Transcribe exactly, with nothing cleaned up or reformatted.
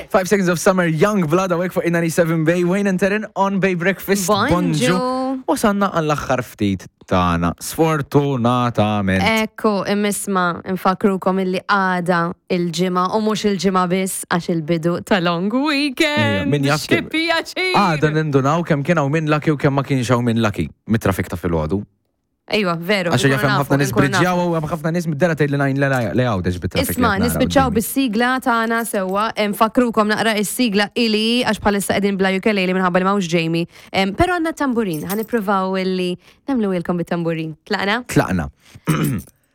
Five Seconds of Summer, Young Blood, hawnhekk fuq ninety-seven Bay, Wayne and Taryn on Bay Breakfast. Bonġu. Wasanna għall-aħħar ftit tagħna. Sfortunatament. Ekku, imma nfakkrukom illi għada il-Ġimgħa u mhux il-Ġimgħa biss, għax il-bidu ta' long weekend. Ejja, min jaf Xi kemm- pjaċir. Għada nindunaw kemm kien hawn min lucky u kemm ma kienx hawn min lucky mit-traffic ta' filgħodu. Ejwa, veru. Għax jaf nkunu hemm nafu, ħafna nies nkunu nafu. briġjaw u hemm ħafna nies mid-dera tgħid li ngħin li għawdex bit-traffic. Isma, nispiċċaw bis-sigla tagħna sewwa, nfakkrukom naqra is-sigla ili għax bħalissa qegħdin bla ukulele minħabba li m'hawnx Jamie. Em, Però għandna tamburin, ħa nippruvaw illi nagħmlu ilkom bit-tamburin. Tlaqna? Tlaqna.